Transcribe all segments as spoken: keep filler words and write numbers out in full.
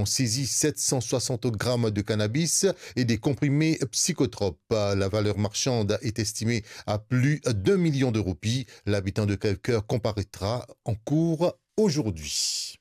ont saisi sept cent soixante grammes de cannabis et des comprimés psychotropes. La valeur marchande est estimée à plus d'un million de roupies. L'habitant de Crèvecoeur comparaîtra en cour aujourd'hui.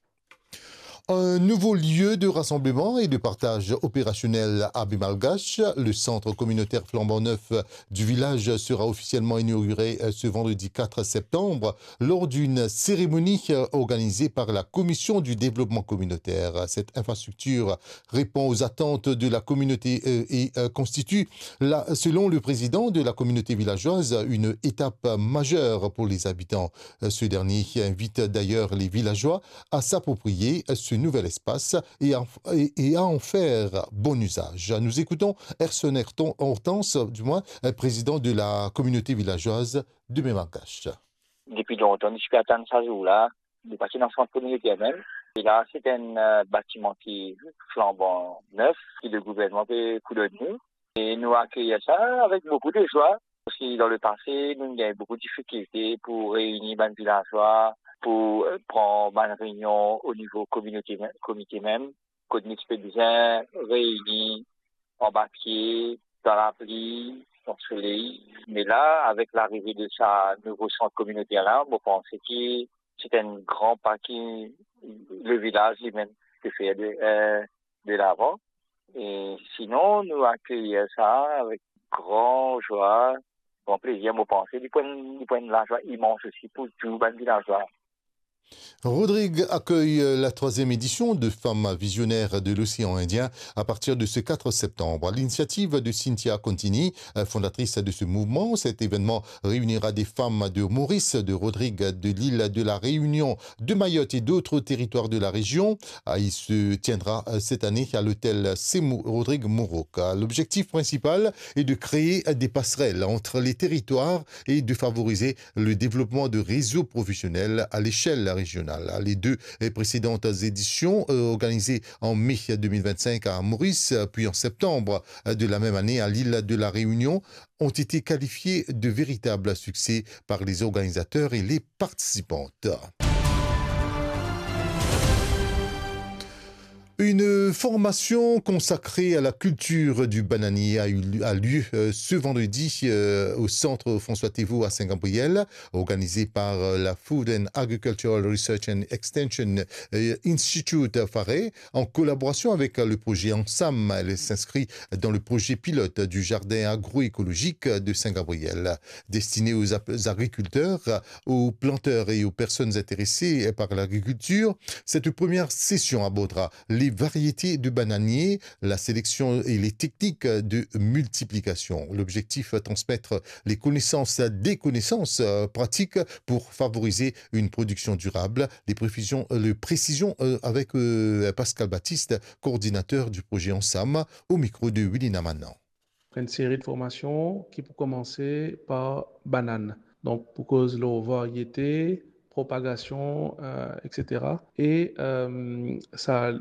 Un nouveau lieu de rassemblement et de partage opérationnel à Baie Malgache. Le centre communautaire flambant neuf du village sera officiellement inauguré, euh, ce vendredi quatre septembre lors d'une cérémonie, euh, organisée par la Commission du développement communautaire. Cette infrastructure répond aux attentes de la communauté, euh, et, euh, constitue, la, selon le président de la communauté villageoise, une étape majeure pour les habitants. Euh, ce dernier invite d'ailleurs les villageois à s'approprier ce nouvel espace et à, et, et à en faire bon usage. Nous écoutons Erson Horton-, Hortense, du moins, euh, président de la communauté villageoise de Baie Malgache. Depi lontan, nou ti pe atann sa zour la. Nou pa ti ena sant kominoter mem. E la, se enn, euh, batiman ki flanban nef, ki le gouvernman pe pou donn nou. E nou akeyir sa avek boukou de zwa. Parski dan lepase, nou gagn boukou difikilte pou reyni bann vilazwa, pou, euh, pran bann reynion o nivo kominote me-, komite mem, kot nou ti pe bizin reyni anba pie, dan lapli, dan soley. Me la, avek larive de sa nouvo sant kominoter la, mo panse ki se enn gran pa ki le vilaz limem pe fer de, euh, de lavan. E sinon, nou akeyir sa avek gran zwa, gran plezir. Mo panse li pou enn, li pou enn lazwa imans osi pou tou bann vilazwa. Rodrig accueille la troisième édition de Femmes visionnaires de l'océan Indien à partir de ce quatre septembre. À l'initiative de Cynthia Contini, fondatrice de ce mouvement, cet événement réunira des femmes de Maurice, de Rodrig, de l'île de la Réunion, de Mayotte et d'autres territoires de la région. Ah, il se tiendra, euh, cette année à l'hôtel Semu Rodrig Moroka. L'objectif principal est de créer des passerelles entre les territoires et de favoriser le développement de réseaux professionnels à l'échelle régionale. Les deux précédentes éditions, euh, organisées en mai deux mille vingt-cinq à Maurice, puis en septembre de la même année à l'île de la Réunion, ont été qualifiées de véritables succès par les organisateurs et les participantes. Une formation consacrée à la culture du bananier a eu, a lieu, euh, ce vendredi, euh, au centre François Théveault à Saint-Gabriel, organisée par, euh, la Food and Agricultural Research and Extension, euh, Institute, FARE, en collaboration avec, euh, le projet Ansam. Elle s'inscrit dans le projet pilote du jardin agroécologique de Saint-Gabriel. Destinée aux ap-, agriculteurs, aux planteurs et aux personnes intéressées par l'agriculture, cette première session abordera les variétés de bananiers, la sélection et les techniques de multiplication. L'objectif, transmettre les connaissances, des connaissances, euh, pratiques pour favoriser une production durable. Les précisions, euh, les précisions, euh, avec, euh, Pascal Baptiste, coordinateur du projet Ansam, au micro de Wilina Manan. Enn seri de formasion ki pou komanse par banann. Donk, pou koz lor variete, propagasion, euh, et cetera. E, euh, sa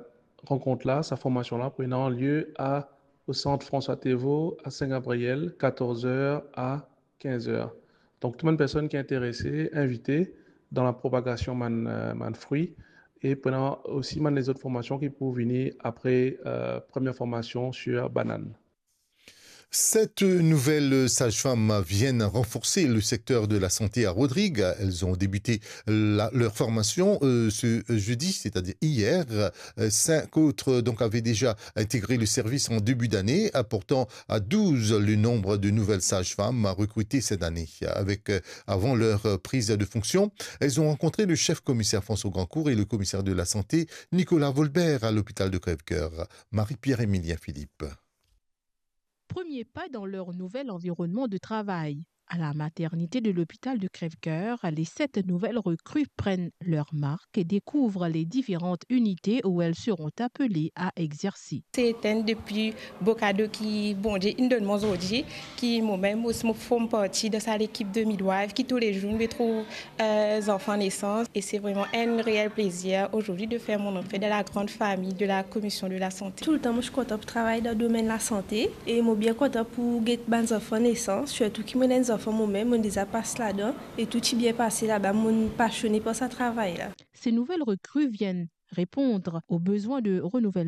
rankont la, sa formasion la, pou ena lie a, au centre François Théveault à Saint-Gabriel, quatorze heures à quinze heures. Donk, tou bann personn ki interese, invite dan la propagasion bann, euh, bann frwi. E pou ena osi bann lezot formasion ki pou vini apre, euh, première formation sur banane. Sept nouvelles sages-femmes viennent renforcer le secteur de la santé à Rodrigues. Elles ont débuté la, leur formation, euh, ce jeudi, c'est-à-dire hier. Euh, cinq autres, donc, avaient déjà intégré le service en début d'année, portant à douze le nombre de nouvelles sages-femmes recrutées cette année. Avec, euh, avant leur prise de fonction, elles ont rencontré le chef commissaire François Grandcourt et le commissaire de la santé, Nicolas Volbert, à l'hôpital de Crèvecoeur. Marie-Pierre Émilien Philippe. Premier pas dans leur nouvel environnement de travail. À la maternité de l'hôpital de Crèvecoeur, les sept nouvelles recrues prennent leur marque et découvrent les différentes unités où elles seront appelées à exercer. Se enn depi bo kado ki Bondie inn donn mwa zordi, ki mwa mem osi mo form parti dan sa lekip de midwife ki toulezour nou pe trouv, euh, zanfan nesans. E se vreman enn reel plezir zordi de fer mon antre dan la gran fami de la Komision de la Sante. Toultan mo ti kontan pou travay dan domenn lasante e mo bien kontan pou get bann zanfan nesans, sirtou ki mo ena enn zanfan mo mem, mo deza pas ladan e tou ti bien pase laba, mo pasione par sa travay la. Ces nouvelles recrues viennent répondre aux besoins de renouvellement